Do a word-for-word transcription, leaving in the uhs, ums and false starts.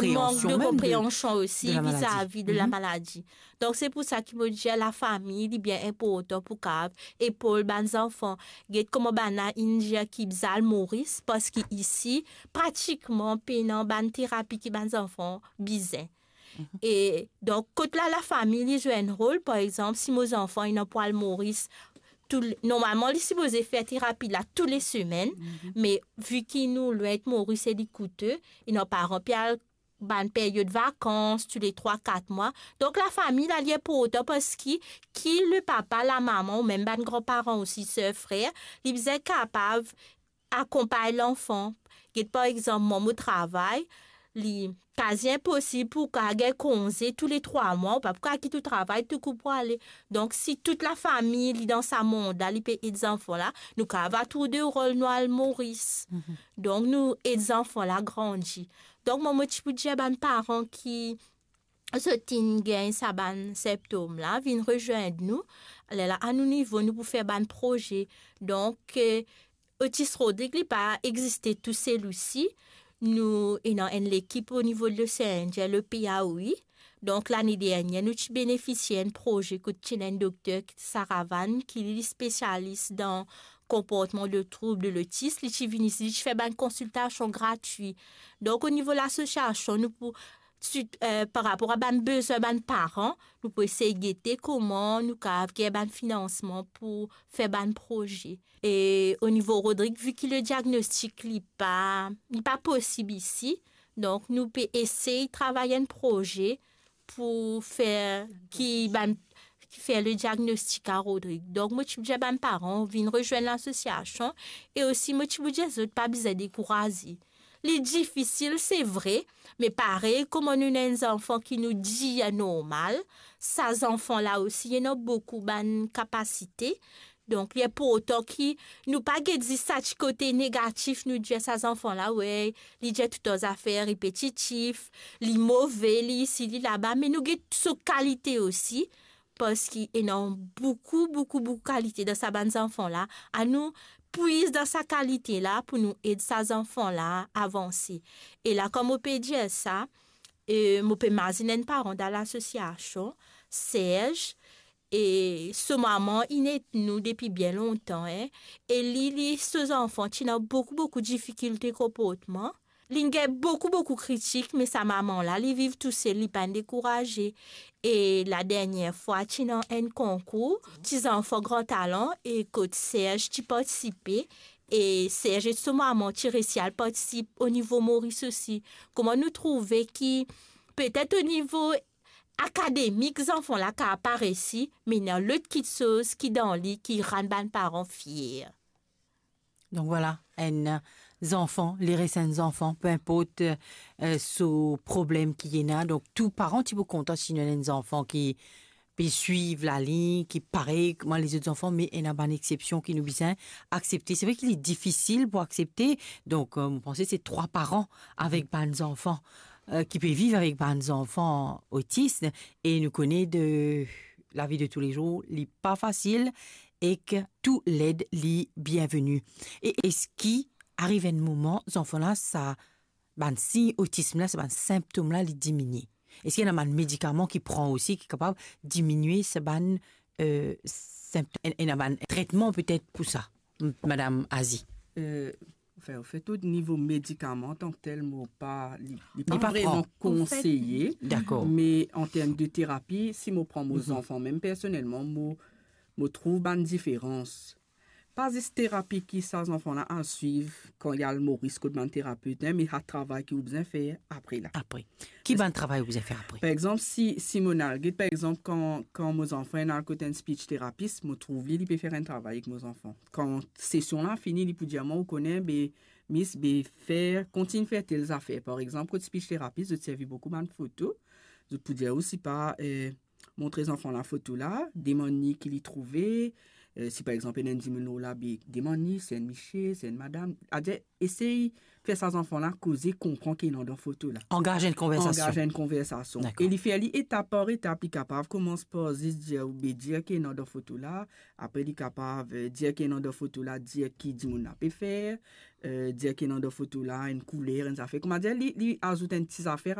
konpreansion mem de, de la maladi. Mank de konpreansion osi vizavi de la maladi. Donk, se pou sa ki mo dir lafami, li bien inportan pou kav epol bann zanfan. Get kouma bann-la inn dir ki bizin al Moris, parski isi, pratikman, pena bann terapi ki bann zanfan bizin. E donk, kot la, lafami, li zwe enn rol, par exanp, si mo zanfan inn pou al Moris, tou le, normalman, li sipoze fer terapi la tou le semenn, me vi ki nou lwin ek Moris e li koute, ena paran pe al bann peryod vakans, tou le trwa, kat mwa. Donk, lafami la, li inportan parski ki le papa, lamama, ou mem bann granparan osi, ser, frer, li bizin kapav akonpagn lanfan. Get, par exanp, mwa, mo travay, li kazi inposib pou kav gagn konze tou le trwa mwa, ou pa pou kav kit ou travay tou kou pou ale. Donk, si tou lafami, li dan sa mond la, li pe ed zanfan la, nou kav ava tour de rol, nou al Moris. Donk, nou ed zanfan la grandi. Donk, mwa, mo ti pou dir bann paran ki zot inn gagn sa bann sinptom la, vinn rezwenn nou. Lerla, a nou nivo, nou pou fer bann proze. Donk, eh, Otis Rodrig, li pa existe tousel osi. Nou ena enn lekip o nivo de Losean Indien, le P A O I. Donk, lane dernier, nou ti benefisie enn proze kot ti ena enn dokter, Saravan, ki li spesialis dan konportman de troub de lotis. Li ti vinn isi, li ti fer bann konsiltasion gratwi. Donk, o nivo lasosiasion, nou pou, si, eh, par rapor a bann bezwin bann paran, nou pou esey gete kouma nou kav gagn bann finansman pou fer bann proze. E o nivo Rodrig, vi ki le diagnostik, li pa, li pa posib isi, donk, nou pe esey travay enn proze pou fer ki bann, ki fer le diagnostik a Rodrig. Donk, mo ti pou dir bann paran, vinn rezwenn lasosiasion, e osi, mo ti pou dir zot pa bizin dekouraze. Li difisil, se vre, me parey kouma nou ena enn zanfan ki nou dir normal, sa zanfan la osi, li ena boukou bann kapasite. Donk, li inportan ki nou pa get zis sa ti kote negatif, nou dir sa zanfan la, wey, li dir toutan zafer repetitif, li move, li isi, li laba, me nou get so kalite osi, parski ena boukou, boukou, boukou kalite dan sa bann zanfan la. Anou pwiz dan sa kalite la pou nou ed sa zanfan la avanse. E la, kouma mo pe dir sa, eh, mo pe mazinn enn paran dan lasosiasion, Serge, e so mama inn ed nou depi bien lontan, en, e li, li, so zanfan ti ena boukou, boukou difikilte konportman. Li gagn boukou, boukou kritik, me sa mama la, li viv tousel, li pa'nn dekouraze. E la dernier fwa, ti ena enn konkour, ti zanfan gran talan, e kot Serge ti partisipe, e Serge ek so mama ti resi al partisip o nivo Moris osi. Kouma nou trouve ki petet o nivo akademik, zanfan la kav pa resi, me ena lot kiksoz ki dan li ki rann bann paran fier. Donk, vwala, enn, eh, zanfan, li res enn zanfan, pe inport, eh, so problem ki ena. Donk, tou paran ti pou kontan si nou ena enn zanfan ki pe swiv lalign, ki parey kouma lezot zanfan, me ena bann exsepsion ki nou bizin aksepte. Se vre ki li difisil pou aksepte. Donk, eh, mo panse se trwa paran avek bann zanfan, eh, ki pe viv avek bann zanfan otis, e nou kone de lavi de toulezour, li pa fasil, ek tou led li bienveni. E eski ariv enn moman, zanfan la, sa bann sign otism la, sa bann sinptom la, li diminie? Eski ena bann medikaman ki pran osi, ki kapav diminie sa bann, eh, sinp-, en-, ena bann tretman petet pou sa, m-, Madam Azi? Eh, anfin, anfet, o nivo medikaman, antanketel, mo pa, li, li pa vreman konseye. Dakor. Me an term de terapi, si mo pran mo zanfan, mem personelman, mo, mo trouv bann diferans. Pa zis terapi ki sa zanfan la al swiv kan li al Moris kot bann terapet, en, me sa travay ki ou bizin fer apre la. Apre. Ki bann travay ou bizin fer apre? Par exanp, si, si mo al get, par exanp, kan, kan mo zanfan inn al kot enn speech therapist, mo trouv li, li pe fer enn travay ek mo zanfan. Kan sesion la fini, li pou dir mwa, ou kone, be, Miss, be, fer, kontign fer tel zafer. Par exanp, kot speech therapist, zot servi boukou bann foto. Zot pou dir ou, sipa, eh, montre zanfan la foto la, demann li ki li trouve, eh, si par exanp, ena enn dimoun lor la, be, demann li, se enn misie, se enn madam. Adir, esey fer sa zanfan la koze, konpran ki ena dan foto la. Angaz enn konversasion. Angaz enn konversasion. Dakor. E li fer li etap par etap, li kapav koumans par zis dir ou, be, dir ki ena dan foto la, apre li kapav, eh, dir ki ena dan foto la, dir ki dimoun la pe fer, eh, dir ki ena dan foto la, enn kouler, enn zafer. Koumadir, li, li azout enn ti zafer a